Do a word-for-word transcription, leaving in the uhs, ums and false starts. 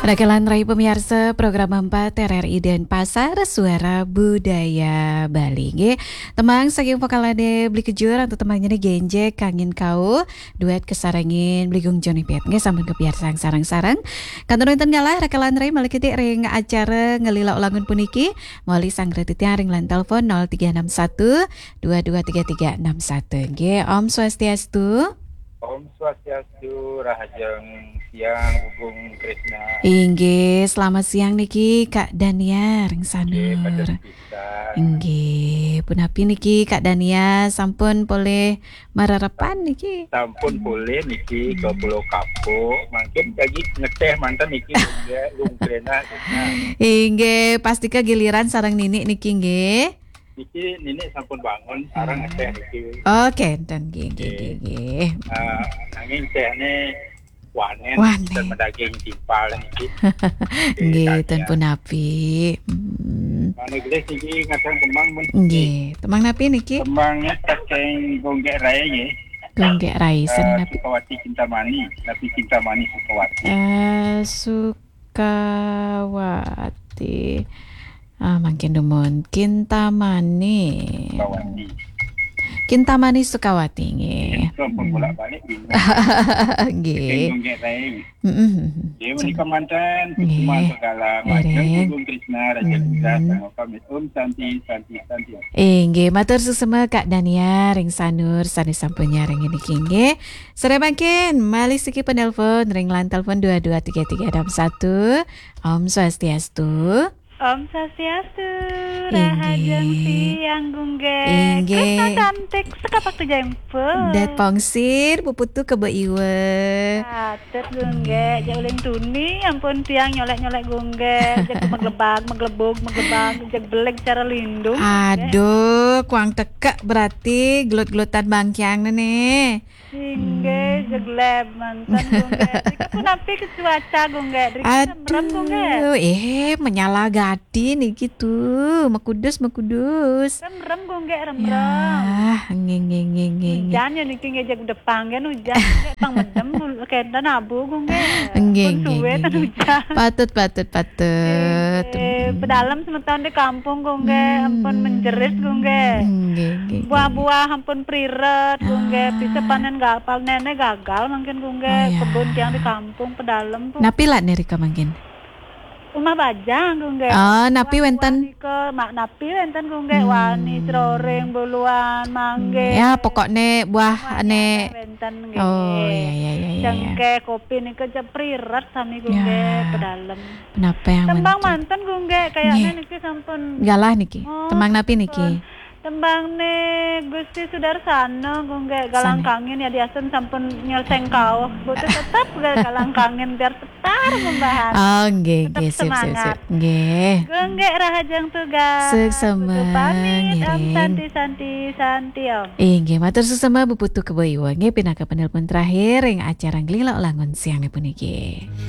Rakelan rai pamiarsa program empat R R I Denpasar, Suara Budaya Bali. Nggih, tembang saking vokalane Bli Kejur, antuk tembangnya ni Genjek Kangin Kau, duet kasarengin Bli Gung Joni Piet. Nggih, sampun kapiarsang sareng-sareng. Kantun wenten galah, rakelan rai malih kedik ring acara Ngelila Ulangun puniki, malih sanggra titiang ring line telepon nol tiga enam satu dua dua tiga tiga enam satu. Nggih, Om Swastiastu. Om Swastiastu, rahajeng siang, Bli Gung Krisna. Inggih, selamat siang niki Kak Dania ring Sanur. Nggih, punapi niki Kak Dania, sampun polih marerepan niki? Sampun polih niki ke Pulau Kapuk, mangkin lagi ngeteh manten niki Bli Gung Krisna. Inggih, pastika giliran sareng Nini niki nggih. Niki Nini sampun bangun, sareng ngeteh niki. Oh, kenten nggih, nggih, nggih, nggih. Ah, nanging tehne wanen, wanen. Dan medaging timpal niki. Nggih, ten punapi. Hmm. Mangda gelis niki ngadang tembang pun. Nggih, tembang napi niki? Tembangnya saking Gung Gek Rai nggih. Gung Gek Rai, eh, sanapi? Sukawati Kintamani, napi Kintamani Sukawati. Eh, Sukawati. Ah, mangkin dumun Kintamani. Sukawati. Kintamani Sukawati, nggih. Itu pun bolak-balik bingung. Nggih. Bingung nggih, Rai. Mm-mm. Nggih, menika manten, nggih. Suksma segala macam, Gung Krisna, Raja Indra, sama pamit. Om Santi, Santi, Santi. Eh, nggih, matur suksma Kak Dania ring Sanur, sane sampun nyarengin niki nggih. Sare mangkin, malih siki penelpon ring line telepon dua dua tiga tiga enam satu. Om Swastiastu. Om Swastiastu, inggih. Rahajeng siang, Gung Gek. Inggih. Krisna cantik, sekapak tujaimpu. Dat pongsir, puputu kebe iwa. Patut, Gung Gek. Nggih. Jak uling tuni, ampun tiang nyolek-nyolek, Gung Gek. Jak meglebag, meglebug, meglebag, jak beleg cara lindung, Gung Gek. Aduh, kuang tekek berarti gelut-gelutan bangkiang ne. Inggih, hmm. Jegleb manten, Gung Gek. Driki punapi ke cuaca, Gung Gek? Driki remrem, Gung Gek? Aduh, eh, menyala gati niki tuh. Mekudus, mekudus. Remrem, Gung Gek, remrem. Yah, nggih, nggih, nggih, nggih, nggih. Ujan ya niki nggih, jeg depang kan ujan. Nggih, pang medem, kenten abu, Gung Gek. Nggih, pun nggih, suwe nggih, tan nggih. Ujan. Patut, patut, patut. Nggih, nggih. Hmm. Pedalem semeton di kampung, Gung Gek. Hmm. Ampun menjerit, Gung Gek. Nggih, nggih, nggih. Buah-buah ampun priret, Gung Gek. Ah. Bisa panen ga-, panene gagal mangkin, Gung Gek. Oh, ya. Kebun tiang di kampung, pedalem, pun. Napi lak nirika mangkin? Rumah bajang, Gung Gek. Oh, napi wenten? Buah-buah nika, mak napi wenten, Gung Gek. Hmm. Wani, croreng, buluan, mangge. Ya, pokokne buah. Semuanya ane ada wenten, nggih. Oh, ya, ya, ya, ya, ya. Cengkeh, kopi nika jeg priret sami, Gung Gek. Ya. Pedalem. Penapa yang tembang manten? Manten, Gung Gek, kayaknya nggih. Niki sampun. Galah niki. Oh, tembang napi niki? Sampun. Tembangne Gusti Sudarsana, Gung Gek, Galang Kangin ya diasen sampun nyeleseng kauh. Butuh tetep ga-, Galang Kangin biar setar membahas. Oh, nggih, tetep nggih, sip, sip, semangat. Sip. Nggih. Gung Gek rahajeng tugas. Suksema, pamit, Om ngiring. Santi, Santi, Santi, Om. Inggih, matur suksema Bu Putu Kebo Iwa. Nggih, pinaka penelpon terakhir ring acara Nglila Ulangun siang puniki.